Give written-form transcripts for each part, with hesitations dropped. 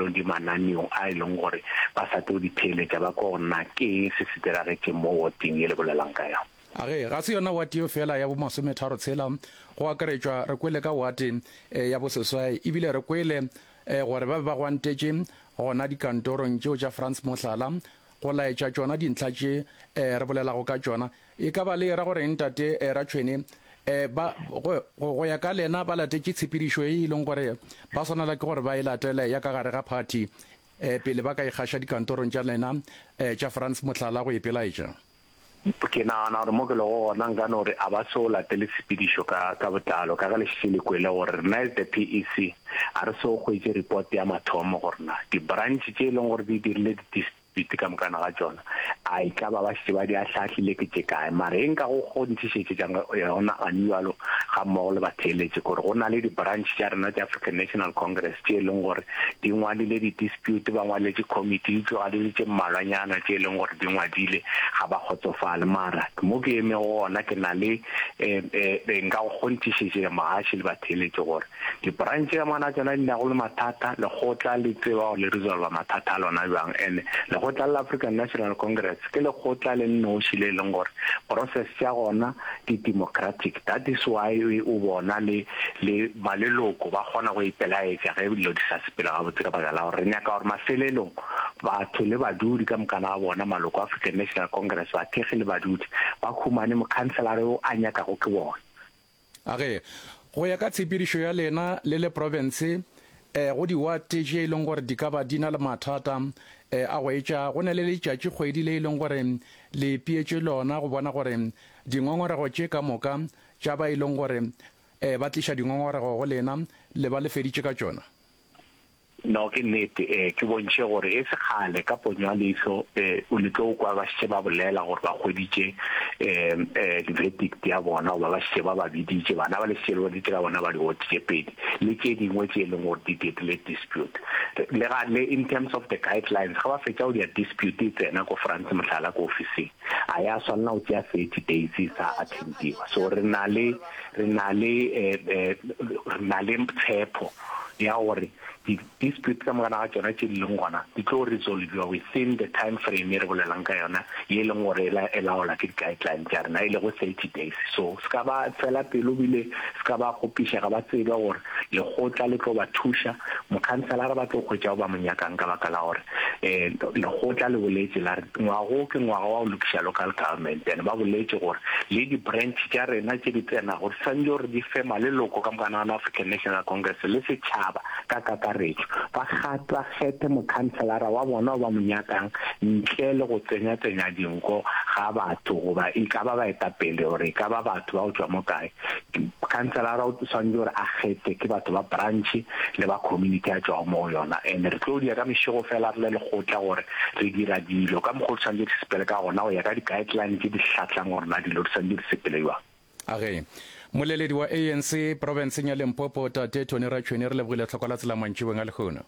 leng di mananeong a e leng gore ba sa tlo di theeletša ba kwe gore na ke eng se se diragetšeng mo woteng ye le bolelang ka yona. A ge, ga se yona wate yeo feela ya bomasometharo tshela, go akaretšwa, re kwele ka wate ya boseswai, ebile re kwele gore ba be ba gwantetše gona dikantorong tšeo tša Frans Mohlala, go laetša tšona dintlha tše re bolelago ka tšona. E ka ba le era go reng, Tate Ratšhwene? Ba, go, go, go ya ka lena, ba latetše tshepedišo ye e leng gore ba swanela ke gore ba e latele ya ka gare ga phathi pele ba ka ikgaša dikantorong tša lena tša Frans Mohlala go ipelaetša? Ke nagana gore mo ke lego gona nka no re a ba so latele tshepedišo ka ka botlalo ka ge le šetše le kwele gore rena as the PEC a re so hwetše report ya mathomo gore na di-branch tše e leng gore di dirile di-dispute ka mokana ga tšona a e ka ba ba šetše ba di ahlaahlile ke tše kae. Mara e nka go kgonthišetšetša yona gane bjalo ga mmogo le batheeletši ke gore go na le di-branch tša rena tša African National Congress tše e leng gore di ngwadile di-dispute, ba ngwaletše committee, eupša ga di le tše mmalwanyana tše e leng gore di ngwadile ga ba kgotsofale. Mara mo ke emego gona ke na le um nka go kgonthišetša mogaši le batheeletši gore di-branch ka mokana tšona di nago le mathata, lekgotla le tseba gore le resolva mathata a lona bjang. And lekgotla la African National Congress ke lekgotla le nnoši le e leng gore process tša gona di democratic, that is why o bona le le maleloko ba kgona go ipelaetša ge dilo di sa sepele gabotse ka baka la gore re nyaka gore mafelelong batho le badudi ka mokana ga bona, maloko a African National Congress, bathekgi le badudi, ba humane mokhanselara yo a nyakago ke bona. A ge, go ya ka tshepedišo ya lena le le profense, go diwate tše e leng gore di ka ba di na le mathata a go etša, go na le letšatši-kgwedi le e leng gore le ipeetše lona go bona gore dingongorego tše ka moka tša ba e leng gore ba tliša dingongorego go lena, le ba le feditše ka tšona? No, ke nnete. Ee, ke bontšhe gore e se kgale, ka ponyo ya leihlo, ee, o le tlo kwa ba šetše ba bolela gore ba hweditše um di-verdict ya bona, goba ba šetše ba ba biditše, bana ba le šetše le boditše ka bona ba di-ward tše pedi, le tše dingwe tše e leng gore di dirile dispute. Le ga, le in terms of the guidelines, ge ba fetša go dira dispute e tsena ko France, mohlala, ko ofising, a ya swanela go tšea 30 days e sa attendiwa. So re na le, re na le, re na le tshepo ya gore di-dispute ka mokana ga tšona tše di leng gona di tlo resolviwa within the time frame e re bolelang ka yona ye e leng gore e laola ke di-guideline tša rena e lego 30 days. So se ka ba fela pelo bile se ka ba kgopišega, ba tsebe gore lekgotla le tlo ba thuša, mokhanselara ba tlo hwetša o ba mo nyakang ka baka la gore um lekgotla le boletše la re ngwaga wo ke ngwaga wa go lokiša local government and ba boletše gore le di-branch tša rena tše di tsenago di swanetše gore di fe maleloko ka mokana ga African National Congress le setšhaba ka kakaretšo ba ba kgethe mokhanselara wa bona o ba mo nyakang ntle le go tsenya-tsenya dinko ga batho goba e ka ba baetapele gore e ka ba batho ba go tšwa mo kae. Khanselara o swanetše gore a kgethe ke batho ba branch le ba community a tšwago mo go yona and re tlo dia ka mešego fela re le lekgotla gore re dira dilo ka mokgwa o di swanetše di sepele ka gona go ya ka di guideline tše di hlahlang gore na dilo di swanetše di sepele bjang. A ge Moleledi wa ANC profenseng ya Limpopo Tate Tony Ratšhweni re lebogile tlhoko la tsela mantšiboeng a lehono.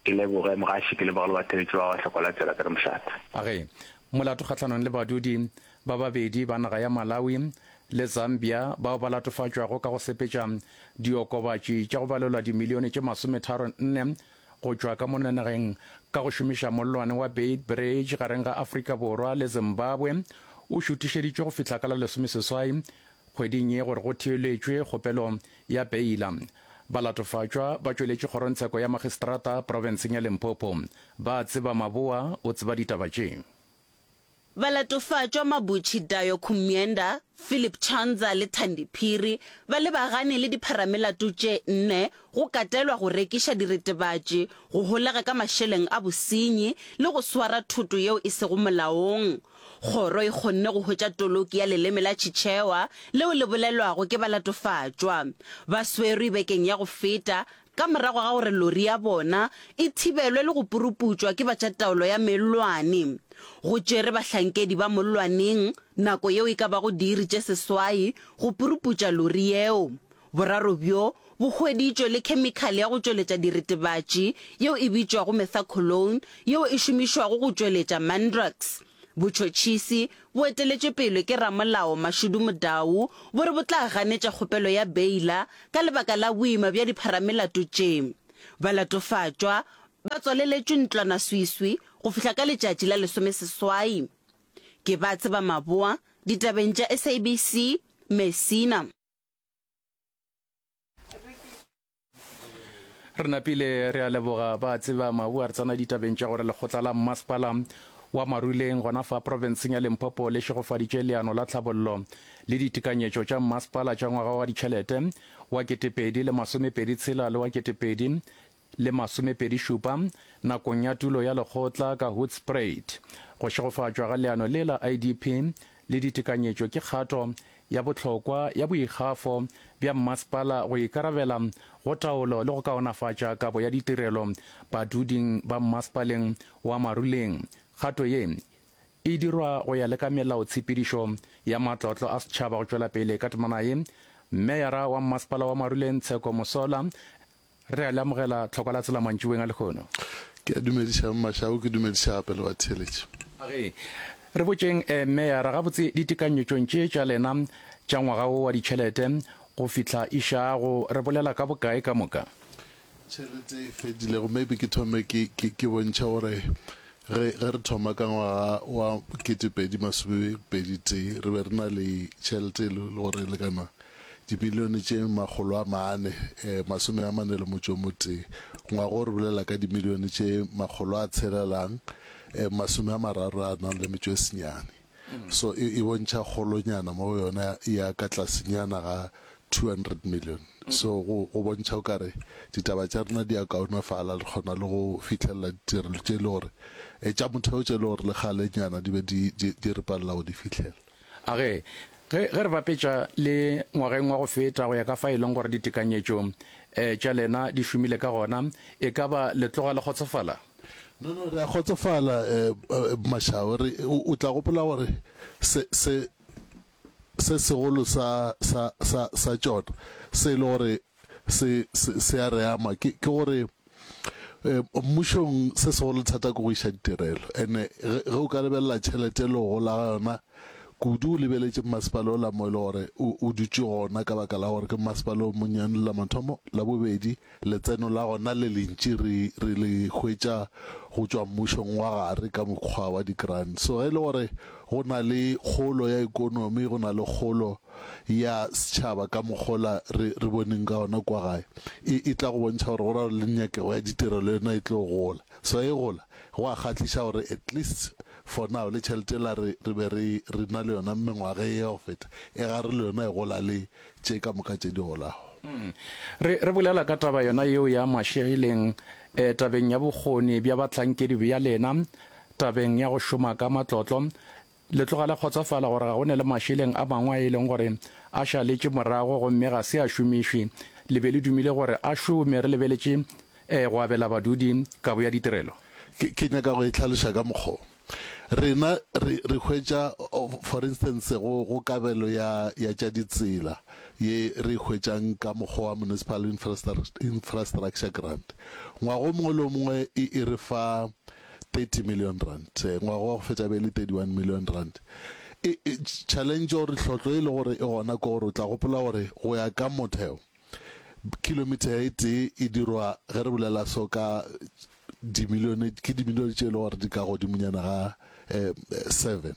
Ke leboge mogaši, ke leboge le batheeletši ba ba hloko la tsela ke re mošate. A ge molato kgahlanong le badudi ba babedi ba naga ya Malawi le Zambia bao ba latofatšwago ka go sepetša diokobatši tša go balelwa dimilione tše masometharonne go tšwa ka mono nageng ka go šomiša mollwane wa Beit Bridge gareng ga Afrika Borwa le Zimbabwe o šuthišeditšwe go fihla ka la lesomeseswai Kgweding ye gore go theeletšwe kgopelo ya beila. Balatofatšwa ba tšweletše kgorongtsheko ya magistrata profenseng ya Limpopo. Ba tseba Maboa o tseba ditaba tše. Balatofatšwa Mabuchi Dayo Kumyenda, Philip Chanza le Thandi Phiri ba lebagane le dipharamelato tše nne go katelwa go rekiša diretebatši, go holega ka mašeleng a bosenyi le go swara thoto yeo e sego molaong. Kgoro e kgonne go hwetša toloki ya leleme la Chichewa leo le bolelwago ke balatofatšwa. Ba swerwe bekeng ya go feta ka morago ga gore lori ya bona e thibelwe le go puruputšwa ke ba tša taolo ya mellwane. Go tšere bahlankedi ba mollwaneng nako yeo e ka bago diiri tše seswai go puruputša lori yeo. Boraro bjo bo hweditšwe le khemikhale ya go tšweletša diretebatši yeo e bitšwago methaqualone yeo e šomišwago go tšweletša Mandrax. Botšhotšhisi bo eteletšwe pele ke ramolao Mashudu Mudau bo re bo tla ganetša kgopelo ya beila ka lebaka la boima bja dipharamelato tše. Balatofatšwa. ba tswaleletšwe ntlwanaswiswi go fihla ka letšatši la lesomeseswai. Ke ba tseba maboa ditabeng tša SABC, Messina. Re napile re a leboga ba tseba mabu a re tsena ditabeng tša gore lekgotla la mmasepala wa Maruleng gona fa profenseng ya Limpopo le šegofaditše leano la tlhabollo le ditekanyetšo tša mmasepala tša ngwaga wa ditšhelete wa 2026 le wa 2027 nakong ya tulo ya lekgotla ka Hoedspruit. Go šegofatšwa ga leano le la IDP le ditekanyetšo ke kgato ya bohlokwa ya boikgafo bja mmasepala go ikarabela go taolo le go kaonafatša kabo ya ditirelo baduding ba mmasepaleng wa Maruleng. Kgato ye e dirwa go ya le ka melaotshepedišo ya matlotlo a setšhaba go tšwela pele ka temana ye. Meyara wa mmasepala wa Maruleng Tsheko Mosola Re a le amogela tlhokwa la tsela mantšiboeng a lehono. Ke a dumediša Mmašau, ke dumediša gape le batheeletši. Age, re botšeng eh, Meyara, gabotse ditekanyetšong tše tša lena tša ngwaga wo wa ditšhelete go fihla išago, re bolela ka bokae ka moka? Tšhelete e fedilego, maybe ke thome ke, ke, ke bontšhe gore ge, ge re thoma ka ngwaga wa 2021 re be re na le tšhelete e le gore e lekana Dimilione tše makgolo a mane, masome a mane le motšo o motee. Ngwaga o re bolela ka dimilione tše makgolo a tshelelang, masome a mararo a nang le metšo e senyane. So e, e bontšha kgolonyana mo go yona ya ka tlasenyana ga 200 million. So go, go bontšha o kare ditaba tša rena di a kaonafala, re kgona le go fihlelela ditirelo tše e le gore, tša motheo tše e le gore le kgalenyana di be di, di, di re palela go di fihlela. A Ge, ge, ge re bapetša le ngwageng wa go feta go ya ka fa e leng gore ditekanyetšo um tša lena di šomile ka gona, e ka ba le tloga le kgotsofala? No, no, re a kgotsofala, um Mashao. Re, o, o tla gopola gore se, se, se segolo sa, sa, sa, sa tšona, se e le gore se, se, se a re ama, ke, ke gore eh, mmušong se segolo thata ke go iša ditirelo. Ene ge, ge o ka lebelela tšhelete le go gola ga yona, kudu o lebeletše mmasepala ola mo e le gore o, o dutše gona ka baka la gore ke mmasepala o monnyane la mathomo, la bobedi letseno la gona le lentši re, re le hwetša go tšwa mmušong wa gare ka mokgwa wa di-grant. So ge e le gore go na le kgolo ya ekonomi, go na le kgolo ya setšhaba ka mokgola re, re boneng ka gona kua gae, e, e tla go bontšha gore go ra gore le nyakego ya ditirelo le yona e tlo gola. So e gola, go a kgahliša gore at least for now le tšhelete yela re, re be re, re na le yona mengwaga ye ya go feta, e gare le yona e gola le tše ka moka tše di golago. Re, re bolela ka taba yona yeo ya mašeleng, eh, tabeng ya bokgoni bja bahlankedi bja lena, tabeng ya go šoma ka matlotlo, Le tloga le kgotsofala gore ga go ne le mašeleng a mangwe a e leng gore a šaletše morago gomme ga se a šomišwe. Le be le dumile gore a šome re lebeletše go abela badudi kabo ya ditirelo. Ke, ke nyaka go e hlaloša ka mokgwa wo. Rena re, re hwetša, for instance, go, go kabelo ya, ya tša ditsela ye re e hwetšang ka mokgwa wa Municipal Infrastructure Grant. Ngwaga o mongwe le o mongwe e, e re fa 30 million rand, ngwaga wa go fetša be e le 31 million rand. E, e, challenge or tlhotlo e le gore e gona ke gore o tla gopola gore go ya ka motheo kilometer e tee e dirwa ge re bolela so ka dimilione ke dimilione tše e le gore di ka godimonyana ga eh, seven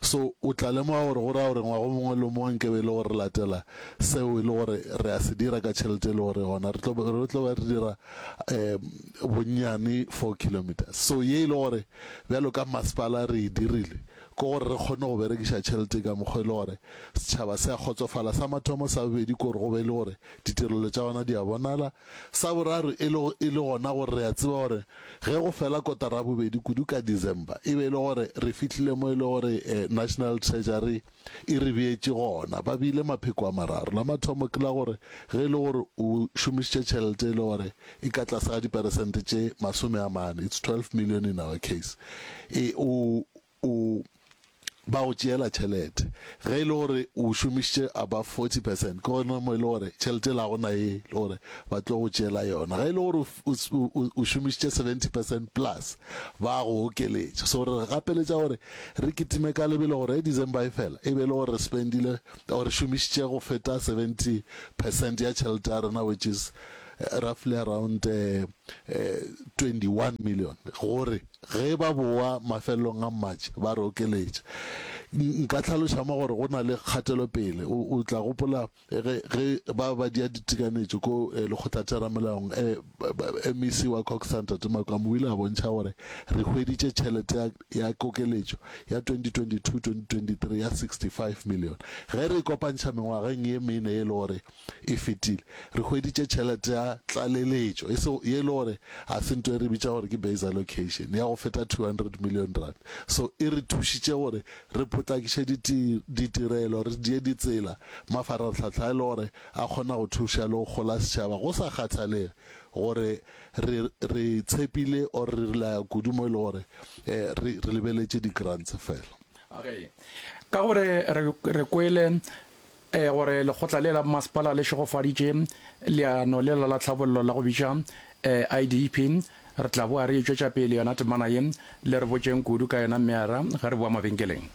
So o tla lemoga gore go ra gore ngwaga o mongwe le o mongwe nke be e le gore re latela seo e le gore re a se dira ka tšhelete e le gore gona re tlo re tlo ba re dira um bonnyane 4 kilometers. So ye e le gore bjalo ka masepala re e dirile ke gore re kgone go berekiša tšhelete ka mokgwa e le gore setšhaba se a kgotsofala. Sa mathomo, sa bobedi ke gore go be e le gore ditirelo tša gona di a bonala. Sa boraro e le e le gona gore re a tseba gore ge go fela kotara ya bobedi kudu ka December e be e le gore re fihlile mo e le gore National Treasury e re beetše gona. Ba beile mapheko a mararo. La mathomo ke la gore ge e le gore o šomišitše tšhelete e le gore e ka tlase ga diperesente tše 40, it's 12 million in our case, e o o ba go tšeela tšhelete. Ge e le gore o šomišitše above 40 percent, ke gona mo e le gore tšhelete ela ga go na ye le gore ba tlo go tšeela yona. Ge e le gore o, o šomišitše 70 percent plus, ba go okeletša. So re gapeletša gore re kitime ka lebelo gore ge December e fela, e be e le gore re spendile or re šomišitše go feta 70 percent ya tšhelete ya rena which is. roughly around 21 million gore ge ba bowa mafelelong a March ba re okeletša. Nka hlaloša mo gore go na le kgatelopele. O tla gopola ge ge ba ba dia ditekanetšo ko lekgotlatheramelaong, MEC wa COGTA Ntate Makwamu o ile a bontšha gore re hweditše tšhelete ya ya kokeletšo ya 2022-2023 ya 65 million. Ge re e kopantšha mengwageng ye mene ye e le gore e fetile, re hweditše tšhelete ya tlaleletšo, e se ye e le gore ga se nto e re bitša gore ke base allocation, ya go feta 200 million rand. So e re thušitše gore re potlakiše ditirelo, re die ditsela, mafarahlahla e le gore a kgona go thuša le go gola setšhaba go sa kgathalege gore re re tshepile or re relaya kudu mo e le gore re re lebeletše di-grants fela. Okay. Ka gore re re kwele gore lekgotla le la mmasepala le šegofaditše leano lela la tlhabollo la go bitša IDP, re tla boa re e tšwetša pele yona temana ye, le re botšeng kudu ka yona Mmeara ge re boa mabenkeleng.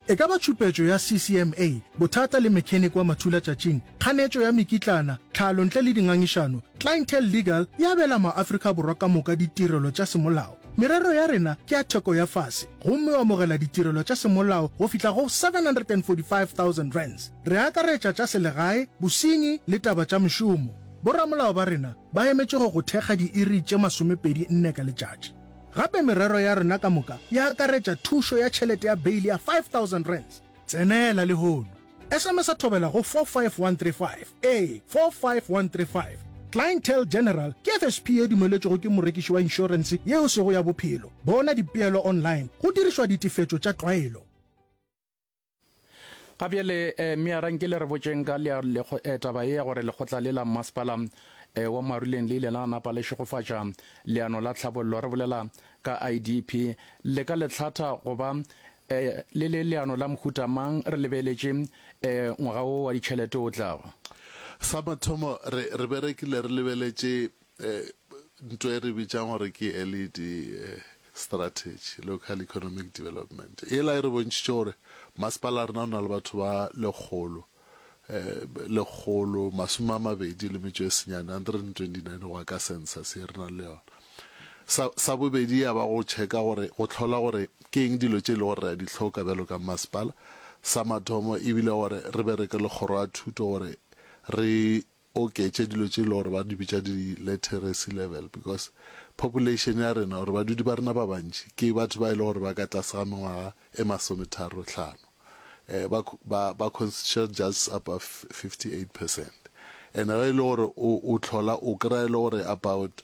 E ka ba tšhupetšo ya CCMA, bothata le mechanic wa mathulatšatšing, kganetšo ya mekitlana, tlhalo ntle le dingangišano, Clientele Legal e abela maAfrika Borwa ka moka ditirelo tša semolao. Merero ya rena ke ya theko ya fase gomme o amogela ditirelo tša semolao go fihla go R745,000. Re akaretša tša selegae, bosenyi le taba tša mešomo. Boramolao ba rena ba emetše go go thekga diiri tše 24 ka letšatši. Gape merero ya rena ka moka e akaretša thušo ya tšhelete ya beili ya R5000. Tsenela lehono! SMS-a Thobela go 45135. Ee, 45135. Clientele General ke FSP ye dumeletšwego ke morekiši wa inšorense ye e sego ya bophelo. Bona dipeelo online go dirišwa ditefetšo tša tlwaelo. Ga bjale, Meara, nke le re botšeng ka lea, lekgo, taba ye ya gore lekgotla le la mmasepala wa Maruleng le ile la napa le šegofatša leano la tlhabollo, re bolela ka IDP. Le ka le hlatha go ba le le leano la mohuta mang re lebeletše ngwaga wo wa ditšhelete o tlago? Sa mathomo, re, re berekile re lebeletše Nto e re bitšang gore ke LED strategy, Local Economic Development, yela e re bontšhitše gore masepala rena o na le batho ba lekgolo, 129, 129 go ya ka census ye re nang le yona. Sa, sa bobedi ya ba go checka gore, go hlola gore ke eng dilo tše e le gore re a di hloka bjalo ka masepala. Sa mathomo e bile gore re bereke le kgoro ya thuto gore re oketše dilo tše e le gore ba di bitša di literacy level because population ya rena or badudi ba rena ba bantši ke batho ba e le gore ba ka tlase ga mengwaga e masometharo hlano eh, ba, ba, ba constitute just above 58 percent and ge e le gore o, o tlhola o kry-a e le gore about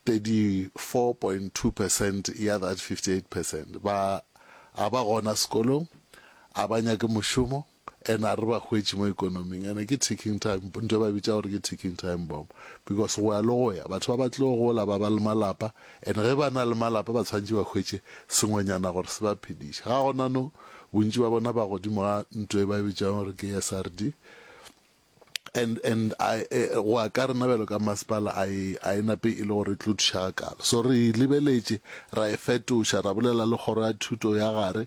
34.2 percent ya that 58 percent ba a ba gona sekolong a ba nyake mošomo And a re ba hwetše mo ekonoming. And ke ticking time, ntho e ba bitša gore ke ticking time bomb. Because go ya le go ya, batho ba ba tlo gola ba ba le malapa, and ge ba na le malapa ba tshwanetše ba hwetše sengwenyana gore se ba phediše. Ga gona no, bontši ba bona ba godimo ga ntho e ba e bitšang gore ke SRD. And, and I, eh, go ya ka rena bjalo ka masepala, a e, a e nape e le gore e tlo thuša gakaalo. So re e lebeletše, ra e fetoša, ra bolela le kgoro ya thuto ya gare,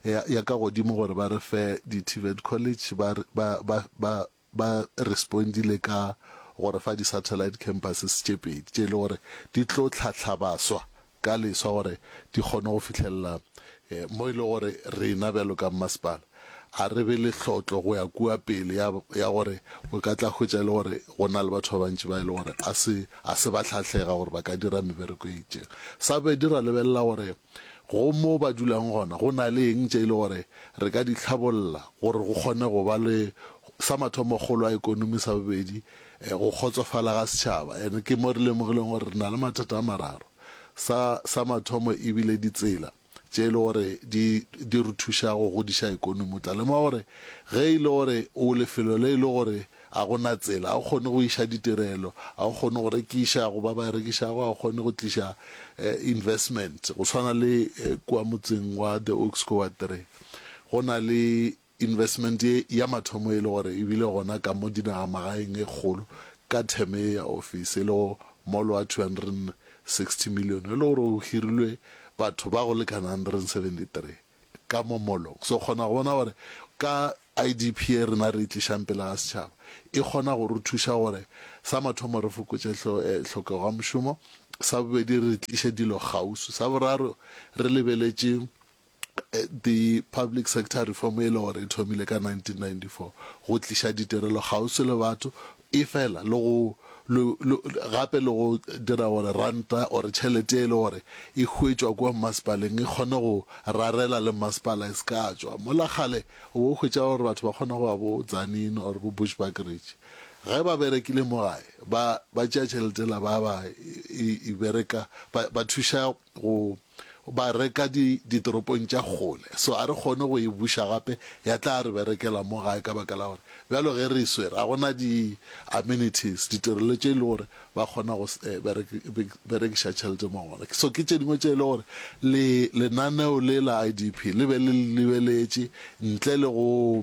ya, ya ka godimo gore ba re fe di-TVET college, ba, ba, ba, ba, ba respondile ka go re fa di-satellite campuses tše pedi, tše e le gore di tlo hlahla baswa ka leswa gore di kgone go fihlelela mo e le gore rena bjalo ka mmasepala a re be le hlotlo go ya kua pele ya, ya gore o ka tla hwetša e le gore go na le batho ba bantši ba e le gore a se, a se ba hlahlega gore ba ka dira mebereko e itšeng. Sa bobedi ra lebelela gore go mo ba dulang gona go na le eng tše e le gore re ka di hlabolla gore go kgone go ba le, sa mathomo kgolo ya ekonomi, sa bobedi go kgotsofala ga setšhaba. And ke mo re lemogileng gore re na le mathata a mararo. Sa, sa mathomo e bile ditsela tše e le gore di, di re thuša go godiša ekonomi. O tla lemoga gore ge e le gore o lefelo le e le gore a go na tsela, ga o kgone go iša ditirelo, ga o kgone go rekiša go ba ba rekišago, ga o kgone go tliša investment. Go swana le kua motseng wa The Oaks ko Ward 3, go na le Investment ye ya mathomo e le gore e bile gona ka mo dinagamagaeng e kgolo ka term ye ya office e lego mall wa 260 million e le gore o hirilwe batho ba go lekana 173 ka mo mallong. So kgona go bona gore Ka IDP ye rena re e tlišang pele ga setšhaba, e kgona go re thuša gore sa mathomo re fokotše hlokego ya mošomo, sa bobedi re tliše dilo kgauswi, sa boraro re lebeletše the public sector reform e le gore e thomile ka 1994 go tliša ditirelo kgauswi le batho, efela le go gape le go dira gore ranta or tšhelete e le gore e hwetšwa kua mmasepaleng e kgone go rarela le mmasepala e se ka tšwa. Mola kgale o bo hwetša gore batho ba kgona go ya bo Tzaneen or bo Bushbuckridge ge ba berekile mo gae ba ba tšea tšhelete la ba ba e bereka ba ba thuša go ba reka di ditoropong tša kgole so a re kgone go e buša gape ya tla re berekela mo gae ka baka la gore bjalo ge re e swere ga gona di amenities ditirelo tše e le gore ba kgona go berekiša tšhelete mo gona so ke tše dingwe tše e le gore le lenaneo le la IDP le be le lebeletše ntle le go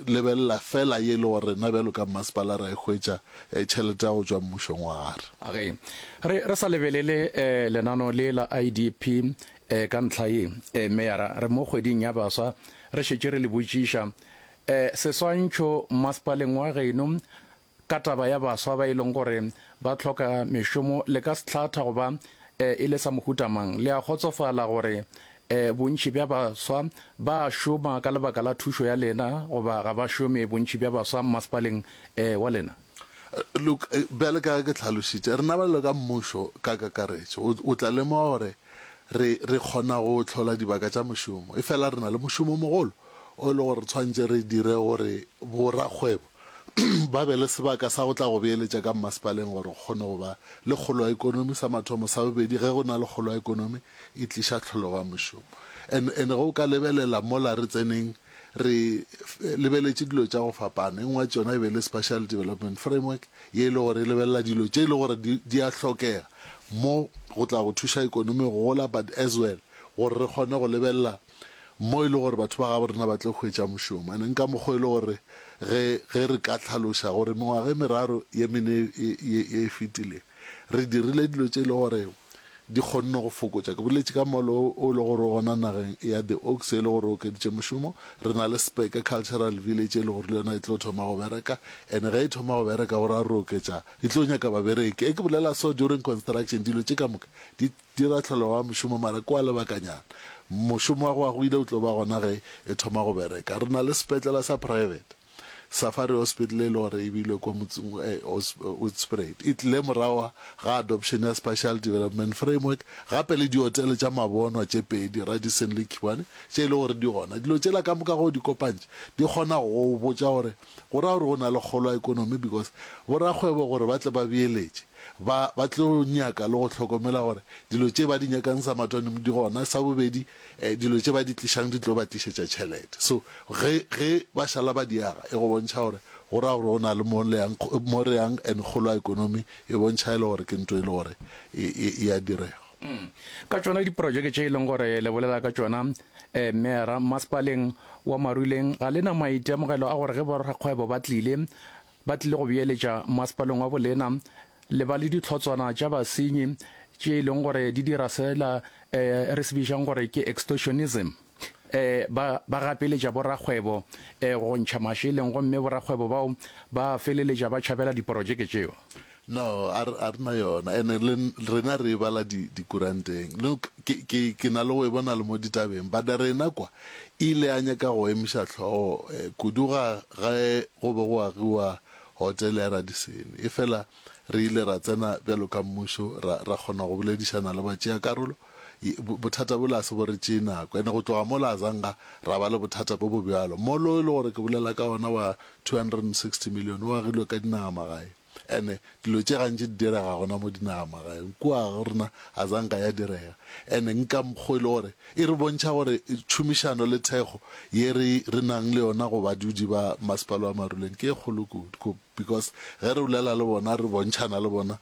lebelela fela ye e le gore rena bjalo ka mmasepala ra e hwetša tšhelete ya go tšwa mmušong wa gare. Ge re re sa lebelele lenano le la IDP ka ntlha ye, Meyara, re mo kgweding ya baswa, re šetše re le botšiša seswantšho mmasepaleng wa geno ka taba ya baswa ba e leng gore ba hloka mešomo, le ka se hlatha go ba e le sa mohuta mang? Le a kgotsofala gore bontši bja baswa ba a šoma ka lebaka la thušo ya lena goba ga ba šome bontši bja baswa mmasepaleng wa lena? Look, bjale ka ge ke hlalošitše, rena bjalo ka mmušo ka kakaretšo, o, o tla lemoga gore re, re kgona go hlola dibaka tša mošomo, efela re na le mošomo o mogolo o e le gore re tshwanetše re dire gore borakgwebo ba be le sebaka sa go tla go beeletša ka mmasepaleng gore go kgone go ba le kgolo ya ekonomi, sa mathomo. Sa bobedi, ge go na le kgolo ya ekonomi, e tliša tlhologo ya mošomo. And, and ge o ka lebelela mola re tseneng, re lebeletše dilo tša go fapana. E nngwe ya tšona e be e le Spatial Development Framework, ye e le gore e lebelela dilo tše e le gore di, di a hlokega mo go tla go thuša ekonomi go gola, but as well gore re kgone go lebelela mo e le gore batho ba gabo rena ba tlo hwetša mošomo. And nka mokgwa e le gore ge, ge re ka hlaloša gore mengwaga e meraro ye mene ye, ye, ye e fetileng, re dirile dilo tše e le gore di kgonne go fokotša. Ke boletše ka molo o e le gore o gona nageng ya The Oaks e le gore o okeditše mošomo. Re na le Speke Cultural Village e le gore le yona e tlo thoma go bereka and ge e thoma go bereka go ra re oketša, e tlo nyaka babereki. E ke bolela so during construction dilo tše ka moka di dira tlholego ya mošomo mara ke wa lebakanyana. Mošomo wa go ya go ile o tlo ba gona ge e thoma go bereka. Re na le sepetlela sa private. Safari Hospital e le gore e beilwe kwa motseng Hoedspruit e tlile morago ga adoption ya Spatial Development Framework gape le diotele tša mabonwa tše pedi, Radisson le Khiwane, tše e le gore di gona. Dilo tšela ka moka ge o di kopantše di kgona go go botša gore go ra gore go na le kgolo ya ekonomi because borakgwebo gore ba tle ba beeletše ba ba tlo nyaka le go hlokomela gore dilo tše ba di nyakang sa mathomo di gona, sa bobedi Dilo tše ba di tlišang di tlo ba tlišetša tšhelete. So ge, ge ba šala ba di aga, e go bontšha gore go ra gore go na le mo le yang, mo re yang and kgolo ya ekonomi e bontšha e le gore ke nto e le gore e, e, e a direga. Ka tšona diprojeke tše e leng gore le bolela ka tšona, Meyara, Masepaleng wa Maruleng ga le na maitemogelo a gore ge borakgwebo ba tlile, ba tlile go beeletša masepaleng wa bolena, le ba le dihlotswana tša basenyi tše e leng gore di dira sela re se bitšang gore ke extortionism, ba ba gapeletša borakgwebo go ntšha mašeleng gomme borakgwebo bao ba feleletša ba tšhabela diporojeke tšeo. No, a re, a re na yona. Ene le rena re e bala di, dikuranteng. Look, ke, ke, ke na le go e bona le mo ditabeng. But rena kwa, e ile ya nyaka go emiša hlogo eh, kudu ga ge go be go agiwa hotele ya Radisson. Efela re ile ra tsena bjalo ka mmušo, ra, ra kgona go boledišana le batšeakarolo. Bothata bola a se bo re tšee nako. Ene go tloga mola a zanga ra ba le bothata bo bo bjalo. Molo e le gore ke bolela ka ona wa 260 million o agilwe ka dinagamagae. Ene dilo tše gantši di direga gona mo dinagamagaeng. Kua go rena a zanka ya direga. Ene nka mokgo e le gore e re bontšha gore tšhomišano le thekgo ye re re nang le yona go badudi ba masepala wa Maruleng ke e kgolo kudu. Because ge re bolela le bona re bontšhana le bona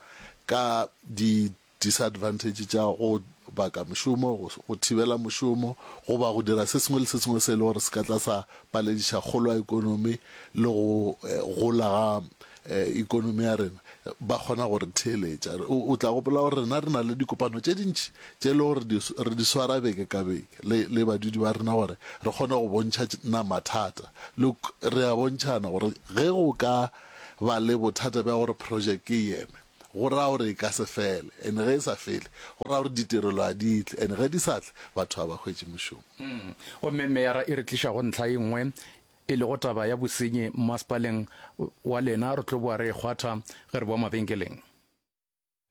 ka di Disadvantage tša go baka mošomo, go thibela mošomo goba go dira se sengwe le se sengwe se e le gore se ka tla sa palediša kgolo ya ekonomi le go gola ga ekonomi ya rena. ba kgona go re theeletša. O, o tla gopola gore rena re na le dikopano tše dintši tše e le gore di, re di swara beke ka beke le, le badudi ba rena gore re kgone go bontšha na mathata. Le, re a bontšhana gore ge go ka ba le bothata bja gore projeke e eme, go ra gore e ka se fele, and ge e sa fele, go ra gore ditirelo ga di tle, and ge di sa tle, batho ga ba hwetše mošomo. Gomme meyara e re tliša go ntlha e nngwe e lego taba ya bosenyi mmasepaleng wa lena. Re tlo boa re e kgwatha ge re boa mabenkeleng.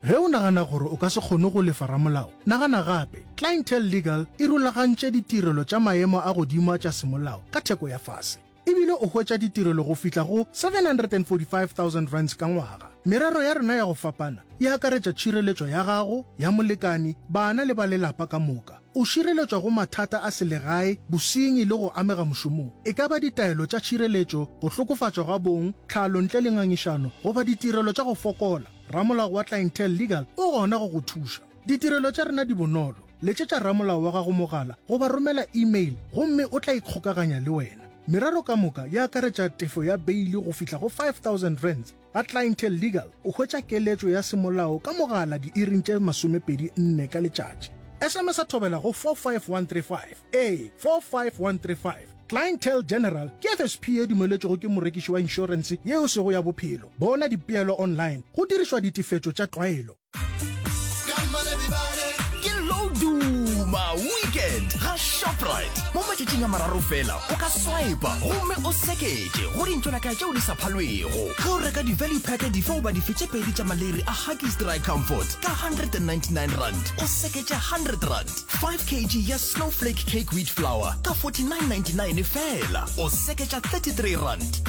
Ge o nagana gore o ka se kgone go lefa ramolao, nagana gape. Clientele Legal e rulagantše ditirelo tša maemo a godimo a tša semolao ka theko ya fase. E bile o hwetša ditirelo go fihla go R745,000 ka ngwaga. Merero ya rena ya go fapana e akaretša tšhireletšo ya gago, ya molekani, bana le ba lelapa ka moka. O šireletšwa go mathata a selegae, bosenyi le go amega mošomong. E ka ba ditaelo tša tšhireletšo, go hlokofatšwa ga bong, tlhalo ntle le ngangišano, goba ditirelo tša go fokola, ramolao wa Clientele Legal o gona go go thuša. Ditirelo tša rena di bonolo. Letšetša ramolao wa gago mogala goba romela email gomme o tla ikgokaganya le wena. Merero ka moka e akaretša tefo ya beili go fihla go R5000. Ga Clientele Legal o hwetša keletšo ya semolao ka mogala diiring tše 24 ka letšatši. SMS-a thobela go 45135. Ee, 45135. Clientele General ke FSP ye dumeletšwego ke morekiši wa inšorense ye e sego ya bophelo. Bona dipeelo online go dirišwa ditefetšo tša tlwaelo. Ke lo duma weekend ga Shoprite. Mo matšatšing a mararo fela o ka swipa gomme o seketše go dintšolaka tšeo di sa phalwego. Ge o reka di-value pack dife goba dife tše pedi tša maleri a Huggies Dry Comfort ka R199 o seketše R100. 5 kg ya Snowflake Cake Wheat Flour ka R49.99 fela o seketša R33.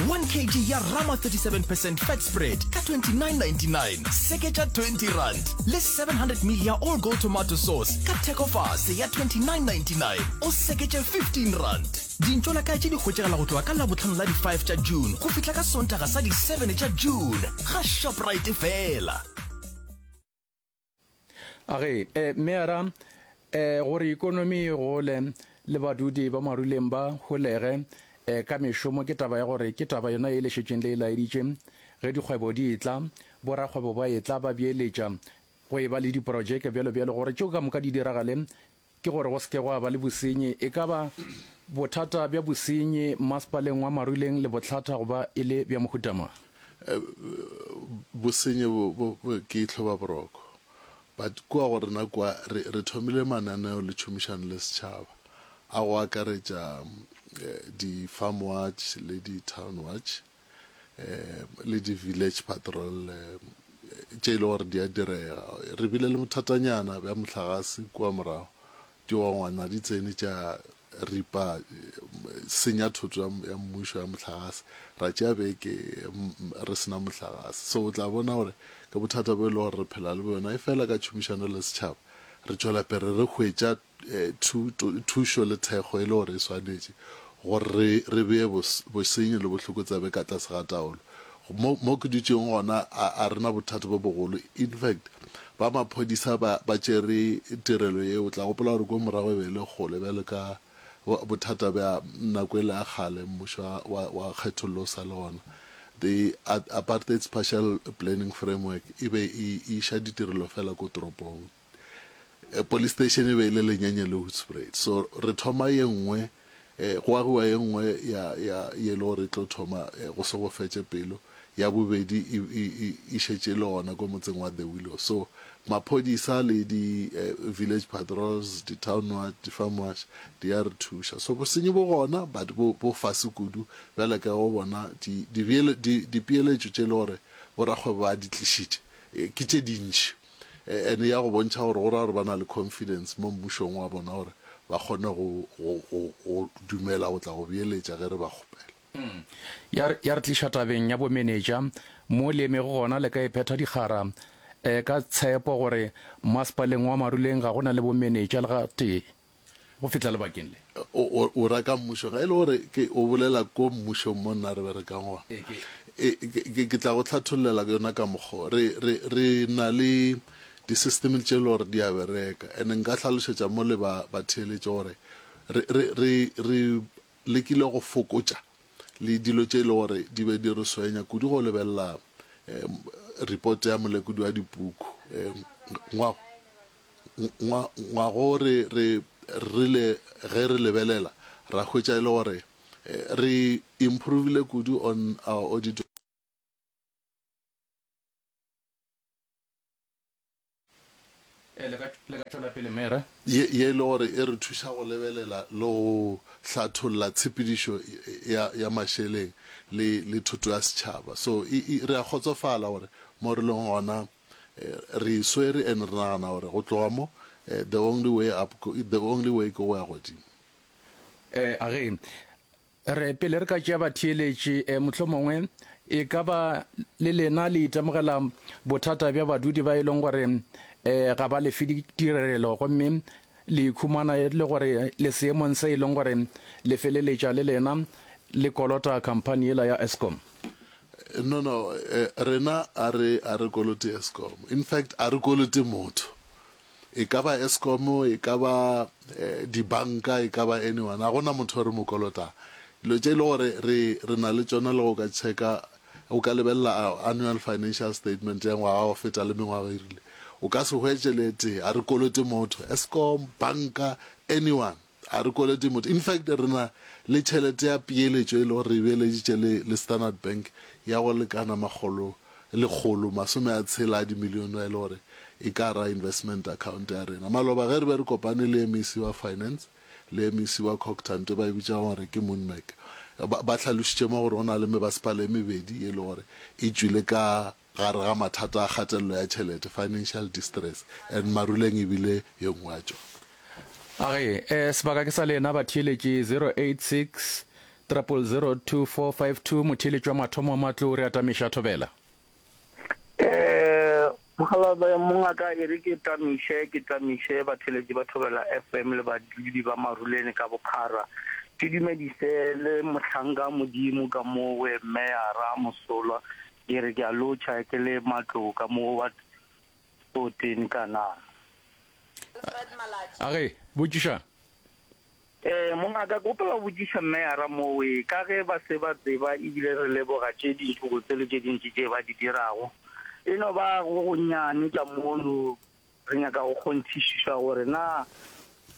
1 kg ya Rama 37 percent Fat Spread ka R29.99 seketša R20 le 700 ml ya All Gold Tomato Sauce ka thekofase ya R29.99 o seketše R15. Dintšolakae tše di hwetšagala go tloga ka Labohlano la di 5 tša June go fihla ka Sontaga sa di 7 tša June ga Shoprite fela. A re, eh, Meyara, eh, gore ikonomi e gole le badudi ba Maruleng ba holege, eh, ka mešomo ke taba ya gore ke taba yona ye le šetšeng le e laeditše. Ge dikgwebo di etla, borakgwebo ba etla ba beeletša, go eba le diprojeke bjalo bjalo, gore tšeo ka moka di diragale, ke gore go se ke gwa ba le bosenyi. E ka ba bothata bja bosenyi mmasepaleng wa Maruleng le bohlatha go ba e le bja mohuta mang? Bosenyi bo, bo, bo ke hlobaboroko. But kua go rena kua re, re thomile mananeo le tšhomišano le setšhaba a go akaretša di-farm watch le di-town watch le di-village patrol tše e le gore di a direga. Re bile le bothatanyana bja mohlagase kua morago, digongwana di tsene tša ripa, senya thoto ya mmušo ya mohlagase, ra tšea beke re se na mohlagase. So o tla bona gore ke bothata bo e le gore re phela le bjona, efela ka tšhomišano le setšhaba re tšwela pele re hwetša thušo le thekgo e le gore e swanetše gore re, re bee bosenyi le bohlokotsebe ka tlase ga taolo. Mo, mo ke dutšego gona, a, a re na bothata bo bogolo. In fact, ba maphodisa ba, ba tšere tirelo yeo. O tla gopola gore ko morago e be e le kgole bjalo ka bothata bja nako ele ya kgale, mmušo wa, wa, wa kgethollo o sa le gona. The Apartheid Spatial Planning Framework e be e iša ditirelo fela ko toropong. Police station e be e le lenyenye le Hoedspruit. So re thoma ye nngwe, go agiwa ye nngwe ya, ya, ye e le gore e tlo thoma go se go fetše pelo. Ya bobedi e, e, e, e šetše e le gona ko motseng wa The Willow. So maphodisa le di village patrols, di town watch, di farm watch di a re thuša. So bosenyi bo gona but bo, bo fase kudu bjale ka go bona di, di, di, dipeeletšo tše e le gore borakgwebo ba di tlišitše ke tše dintši. And ya go bontšha gore go ra gore ba na le confidence mo mmušong wa bona gore ba kgone go, go, go, go dumela go tla go beeletša ge re ba kgopela. Ya re, ya re tliša tabeng ya bomenetša, mo le emego gona le ka iphetha dikgara ka tshepo gore mmasepaleng wa Maruleng ga go na le bomenetša le gatee. Go fihla lebakeng le. O, o, o ra ka mmušong. Ge e le gore ke, o bolela ko mmušong mo nna re berekang gona. Ee, ke. E, ke, ke, ke tla go hlathollela yona ka mokgwa o. Re, re, re na le di-system tše e le gore di a bereka. And nka hlalošetša mo le ba, batheeletši gore re, re, re, re lekile go fokotša le dilo tše e le gore di be di re swenya kudu go lebelela. report ya molekodi wa dipuku. Ngwa, ngwa, ngwago re, re rile ge re lebelela ra hwetša e le gore re improvile kudu on our audit. Ee, le ka, le ka tšwela pele, Mera. Ye, ye e le gore e re thuša go lebelela le go hlatholla tshepedišo ya, ya mašeleng le, le thoto ya setšhaba. So, e, e, re a kgotsofala gore mo re leng gona, re e swere and re nagana gore go tloga mo, the only way up, the only way ke go ya godimo. Ee, a ge Re, pele re ka tšea batheeletši, e, mohlomongwe e ka ba le lena le itemogela bothata bja badudi ba e leng gore e, ga ba lefe ditirelo gomme le ikhumana e le gore le seemong se e leng gore le feleletša le lena le kolota khamphani yela ya Eskom. No, no, rena a re, a re kolote Eskom. In fact, a re kolote motho. E ka ba Eskom, e ka ba dibanka, e ka ba anyone, ga gona motho o re mo kolotang. Dilo tše e le gore re re na le tšona le go ka checka, o ka lebelela our annual financial statement ya ngwaga wa go feta le mengwaga e rile, o ka se hwetše le e tee. Ga re kolote motho, Eskom, banka, anyone, ga re kolote motho. In fact, re na le tšhelete ya peeletšo e le gore re e beeleditše le le Standard Bank ya go lekana makgolo 160 a dimilione e le gore e ka ra investment account ya rena. Maloba ge re be re kopane le MEC wa Finance le MEC wa Cogta nto ba e bitšago gore ke Moonmec ba, ba hlalošitše mo gore go na le mebasepala e mebedi e le gore e tšwile ka gare ga mathata a kgatelelo ya tšhelete, financial distress, and Maruleng e bile ye nngwe ya tšona. A ge, eh, sebaka ke sa lena batheeletši 086 000 2452 motheeletši wa mathomo wa matlo re atamiša thobela. Eh, Mokgalabje mongaka e re ke tamiše ke tamiše batheeletši ba Thobela FM le badudi ba Maruleng ka bophara. Ke dumedise le mohlanka Modimo ka mowe Meyara Mosolwa. Ke re ke a lotšha ke le matlo ka mo wa 14 Kanana. A ge, botšiša. Ee, mongaka, ke gopela go botšiša Meyara mowe, ka ge ba se ba tseba ebile re leboga tše dintši botse le tše dintši tše ba di dirago. E no ba go gonnyane ka mono re nyaka go kgonthišišwa gore na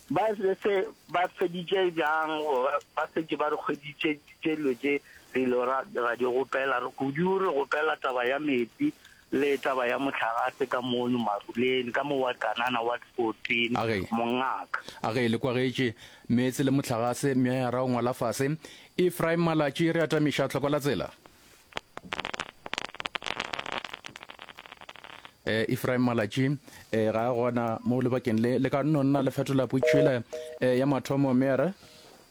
ba se ba feditše bjang goba ba setše ba re hweditše tše dilo tše re ile ra ra di gopela. Re kudu re gopela taba ya metsi Le taba ya mohlagase ka mono Maruleng, ka mo Ward Kanana, Ward 14, A ge. Mongaka. A ge le kwagetše, meetse le mohlagase, meayara o ngwala fase. Ephraim Malatši, re atamiša tlhoko la tsela. Eh, Ephraim Malatši, eh, ga a gona mo lebakeng le. Le ka nno nna le fetola potšišo yela, eh, ya mathomo, meayara.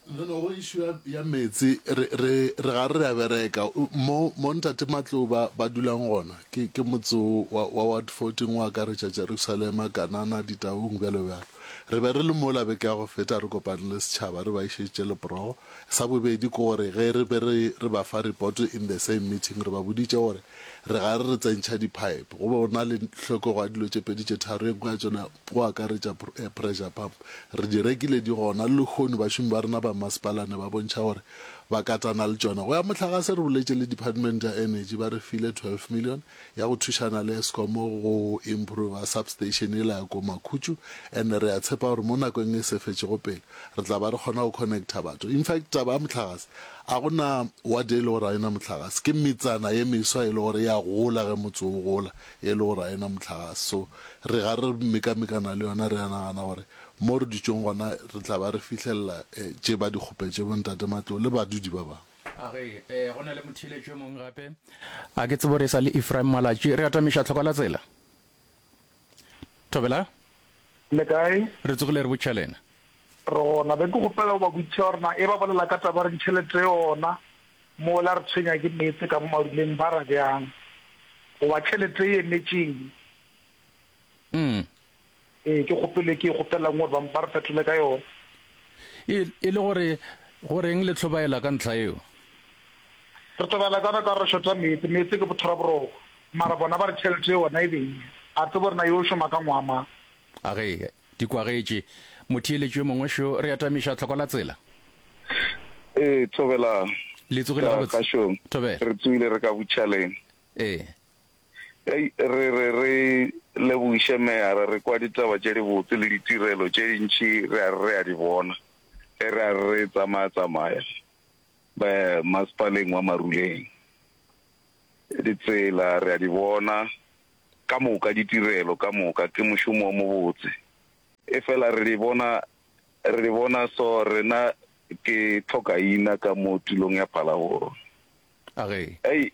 No no go issue ya, ya meetse re re re ga re a bereka mo mo ntate Matlou ba ba dulang gona ke ke motse wa wa ward 14 o akaretša Jerusalema, Kanana, Ditaung bjalo bjalo. Re be re le mola beke ya go feta re kopane le setšhaba re ba išeditše leporogo. Sa bobedi ke gore ge re be re re ba fa report in the same meeting re ba boditše gore re ga re re tsentšha di-pipe go be go na le hlokego ya dilo tše pedi tše tharo ye nngwe ya tšona go akaretša pressure pump. Re di rekile di gona le lehono bašomi ba rena ba mmasepala ne ba bontšha gore ba katana le tšona. Go ya mohlagase re boletše le Department ya Energy ba re file 12 million ya go thušana le Eskom go improver substation yela ya ko Makhutšu and re a tshepa gore mo nakong e se fetšego pele re tla ba re kgona go connecta batho. In fact taba ya mohlagase a go na ward e le gore ga e na mohlagase ke metsana ye meswa e le gore e a gola ge motse o gola e le gore ga e na mohlagase. So re ga re mekamekana le yona, re a nagana gore mo re dutšeng gona re tla ba re fihlelela tše ba di kgopetše bo Ntate Matlou le badudi ba bangwe. A re, Ee, go na le motheeletši yo mongwe gape. A ke tsebe gore e sa le Ephraim Malatši. Re atamiša tlhoko la tsela. Thobela. Le kae? Re tsogile re botša lena. Re gona. Be ke kgopela go ba botšiša gore na e ba bolela ka taba ya gore tšhelete yona mola re tshwenya ke meetse ka mo maruleng ba ra bjang? Goba tšhelete e emetše eng? Mm. Ee, ke kgopelo e ke e kgopelang gore ba, ba re fetole ka yona. E, e le gore go reng le hlobaela ka ntlha yeo? Re hlobaela ka yona ka gore re šota meetse. Meetse ke bothora-boroko. Mara bona ba re tšhelete yona e be eng? A tsebe gore na yo šoma ka ngwaga mang. A ge, di kwagetše. Motheeletši yo mongwe šo, re atamiša tlhoko la tsela. Ee, thobela. Le tsogile Ka gabotse? kgašong. Thobela. Re tsogile re ka butšhaleng. Ee. Hei, re re re lebogiše meyara, re kwa ditaba tše dibotse le ditirelo tše dintši re a re re a di bona ge re a re re tsamaya-tsamaya masepaleng wa Maruleng. Ditsela re a di bona ka moka, ditirelo ka moka, ke mošomo o mobotse. Efela re di bona, re di bona so rena ke tlhokaina ka mo tulong ya Phalaborwa. A ge. Hei,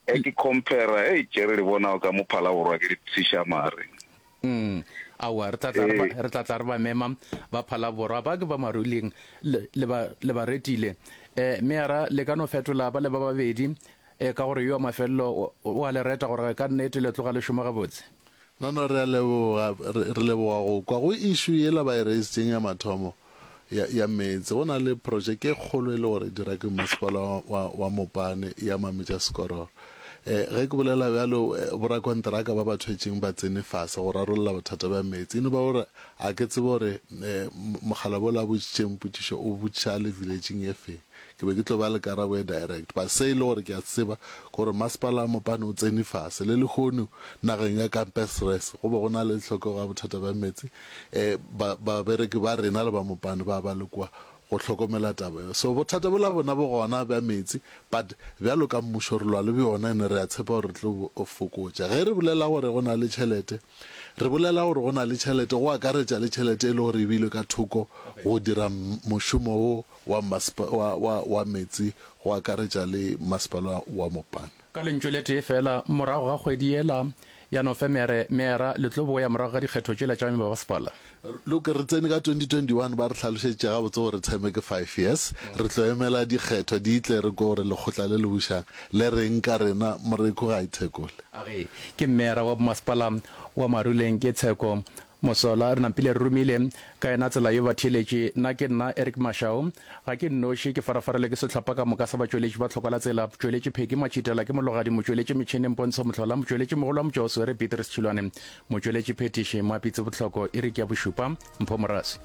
Ge ke compare, hei, tše re di bonago ka mo Phalaborwa ke di tshiša mare. Mm, aowa, re tla tla re ba, re tla tla re ba mema ba Phalaborwa, ba ke ba Maruleng, le, le ba, le ba retile. Eh, meyara, le ka no fetola ba le ba babedi, eh, ka gore yo wa mafelelo o, o a le reta gore ka nnete le tloga le šoma gabotse. No, no, re a leboga, re, re leboga go kwa. Go issue yela ba e raisitseng ya mathomo, ya, ya meetse, go na le projeke e kgolo e le gore e dira ke masepala wa, wa, wa Mopane ya Mametša Sekororo. Eh, ge ke bolela bjalo, eh, borakonteraka ba ba thwetšeng ba tsene fase go rarolla bothata bja meetse. E no ba gore a ke tsebe gore, eh, mokgalabje ola a botšitšeng potšišo o botšiša a le village-ing e feng. Ke be ke tlo ba le karabo e direct, but se e le gore ke a se tseba ke gore masepala wa Mopane o tsene fase. Le lehono nageng ya Kampesres go be go na le tlhokego ya bothata bja meetse, um ba, babereki ba rena le ba Mopane ba ba le kua go hlokomela taba yeo. So bothata bola bona bo gona bja meetse, but bjalo ka mmušo re lwa le bjona and re a tshepa gore re tlo bo fokotša. Ge re bolela gore go na le tšhelete, re bolela gore go na le tšhelete go akaretša le tšhelete e le gore e beilwe ka thoko go dira mošomo wo wa maspa, wa, wa, wa meetse go akaretša le masepala wa Mopane. Ka lentšu le tee feela, morago ga kgwedi yela ya Nofemere, meera le tlo boya morago ga dikgetho tšela tša mebasepala. Look, re tsene ka 2021, ba re hlalošeditše gabotse gore term ke five years. Re tlo emela dikgetho di tle re kwe gore lekgotla le le bušang le reng ka rena. Moreku ga a ithekole. A re, Ke meera wa bomasepala wa Maruleng ke Tsheko Mosola, re napile re romile ka yena tsela yo batheeletši. Nna ke nna Eric Mashau. Ga ke nnoši, ke farafarelwe ke sehlopha ka moka sa batšweletši ba Tlhokwa la Tsela, Motšweletši Pheki Matšhitela ke Mologadi, Motšweletši Metšhene Mpontsho Mohlola, Motšweletši Mogolo wa Motšwaoswere Petrus Tšhilwane, Motšweletši Phethiši Moapitsi Bohloko, Iri ke ya bošupa, Mpho Moraswi.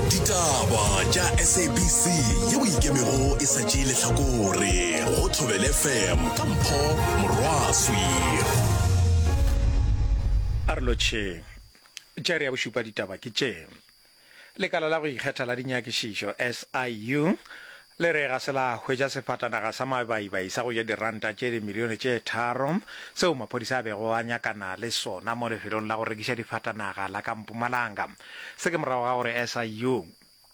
Ditaba tša SABC yeo ikemego e sa tšee lehlakore go Thobela FM ka Mpho Morwaswi. A re lotšheng. Tša iri ya bošupa ditaba ke tše. Lekala la go ikgetha la dinyakišišo, SIU, le re ga se la hwetša sefatanaga sa mabaibai sa go ja diranta tše dimilione tše tharo seo maphodisa a bego a nyakana le sona mo lefelong la go rekiša difatanaga la ka Mpumalanga. Se ke morago ga gore SIU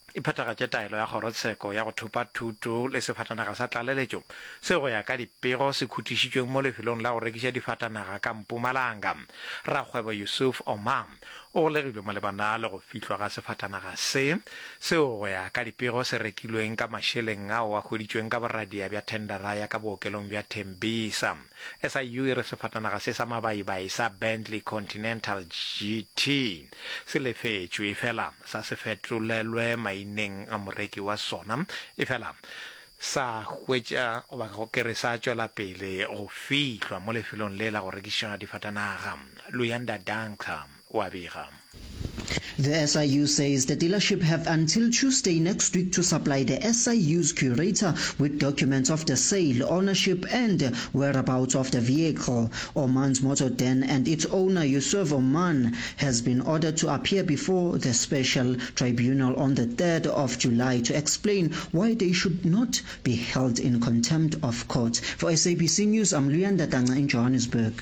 e phethagatše taelo ya kgorotsheko ya go thopa thuto le sefatanaga sa tlaleletšo seo go ya ka dipego se khutišitšweng mo lefelong la go rekiša difatanaga ka Mpumalanga. Rakgwebo Yusuf Omar O golegilwe malebana le go fihlwa ga sefatanaga se, seo go ya ka dipego se rekilweng ka mašeleng ao a hweditšweng ka boradia bja thendara ya ka bookelong bja Tembisa. SIU e re sefatanaga se sa mabaibai sa Bentley Continental GT se lefetšwe efela sa se fetolelwe maineng a moreki wa sona efela sa hwetša goba ke re sa tšwela pele go fihlwa mo lefelong le la go rekiša difatanaga. Luyanda Danka o a bega. The SIU says the dealership have until Tuesday next week to supply the SIU's curator with documents of the sale, ownership and whereabouts of the vehicle. Oman's Motor Den and its owner Yusuf Oman has been ordered to appear before the special tribunal on the 3rd of July to explain why they should not be held in contempt of court. For SABC News, I'm Luyanda Tanga in Johannesburg.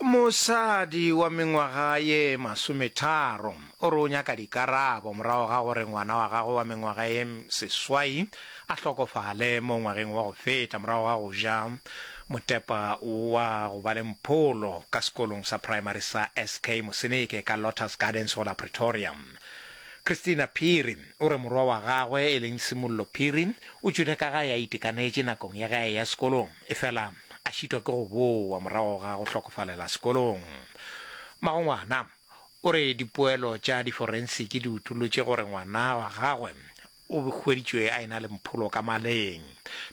Mosadi wa mengwaga ye masometharo o re o nyaka dikarabo morago ga gore ngwana wa gagwe wa mengwaga ye seswai a hlokofale mo ngwageng wa go feta morago ga go ja motepa wa go ba le mpholo ka sekolong sa primary sa SK Moseneke ka Lotus Gardens go la Pretoria. Christina Phiri o re morwa wa gagwe e leng Simollo Phiri o tšwile ka gae a itekanetše nakong ya ge a eya sekolong efela a šitwa ke go bowa morago ga go hlokofalela sekolong. Mmagongwana o re dipoelo tša diforensiki di utolotše gore ngwana wa gagwe. O hweditšwe a e-na le mpholo ka maleng.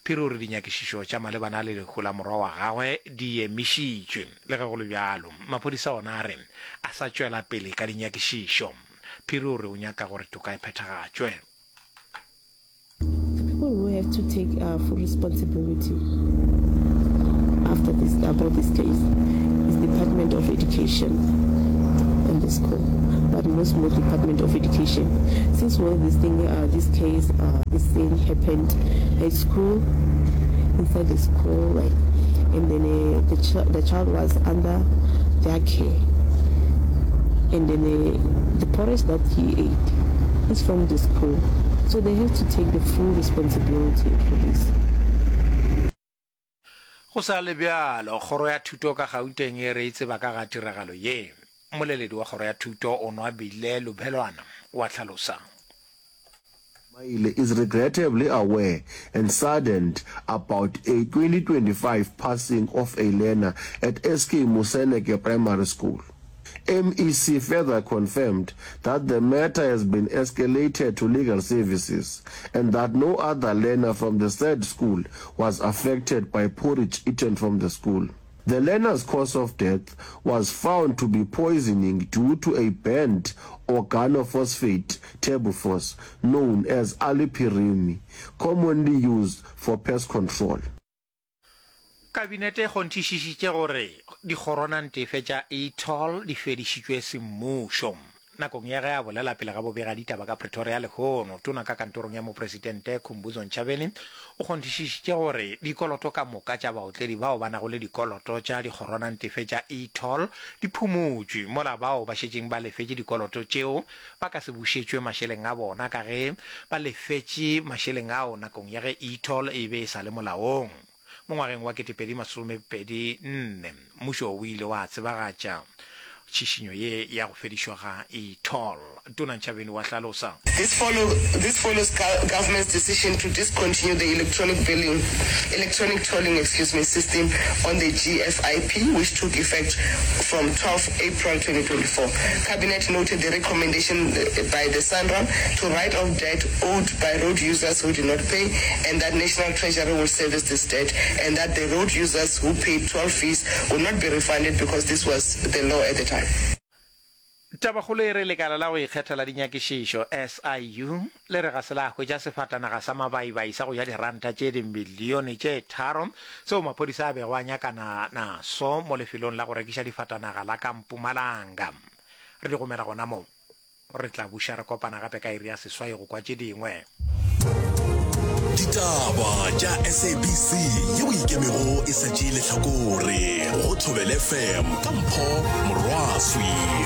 Phiri o re dinyakišišo tša malebana le lehu la morwa wa gagwe di emišitšwe. Le ge go le bjalo, maphodisa ona a re a sa tšwela pele ka dinyakišišo. Phiri o re o nyaka gore toka e phethagatšwe. The people who have to take uh, full responsibility after this about this case is Department of Education and the school, but most more Department of Education. Since when this thing, uh, this case, uh, this thing happened at school, inside the school, like, and then uh, the, ch- the child was under their care, and then uh, the porridge that he ate is from the school, so they have to take the full responsibility for this. Go sa le bjalo, Kgoro ya Thuto ka Gauteng e re e tseba ka ga tiragalo ye. Mmoleledi wa Kgoro ya Thuto, Onwabile Lubhelwana, o a hlalosa. Maile is regrettably aware and saddened about a 2025 passing of a learner at SK Moseneke Primary School. MEC further confirmed that the matter has been escalated to legal services and that no other learner from the said school was affected by porridge eaten from the school. The learner's cause of death was found to be poisoning due to a banned organophosphate terbufos known as alipirimi, commonly used for pest control. Kabinete e kgonthišišitše gore dikgoronantefe tša e-toll di fedišitšwe semmušo. Nakong ya ge a bolela pele ga bobegaditaba ka Pretoria lehono, Tona ka Kantorong ya Mopresidente Khumbudzo Ntshavheni o kgonthišišitše gore dikoloto ka moka tša baotledi bao ba nago le dikoloto tša dikgoronantefe tša e-toll di phumotšwe, mola bao ba šetšeng ba lefetše dikoloto tšeo ba ka se bušetšwe mašeleng a bona ka ge ba lefetše mašeleng ao nakong ya ge e-toll e be e sa le molaong. Mo ngwageng wa 2024, mmušo o ile wa tsebagatša tšhišinyo ye ya go fedišwa ga e-toll. Tona Ntshavheni wa hlalosa. This follow This follows government's decision to discontinue the electronic billing electronic tolling excuse me system on the GFIP which took effect from 12 April 2024. Cabinet noted the recommendation by the SANRAL to write off debt owed by road users who did not pay and that National Treasury will service this debt and that the road users who paid toll fees will not be refunded because this was the law at the time. Tabakgolo e re lekala la go ikgetha la dinyakišišo, SIU, le re ga se la hwetša sefatanaga sa mabaibai sa go ja diranta tše dimilione tše tharo seo maphodisa a bego a nyakana naso mo lefelong la go rekiša difatanaga la ka Mpumalanga. Re di gomela gona mo. Re tla buša re kopana gape ka iri ya seswai go kwa tše dingwe. Ditaba tša SABC yeo e ikemego e sa tšee lehlakore go Thobela FM ka Mpho Morwaswi.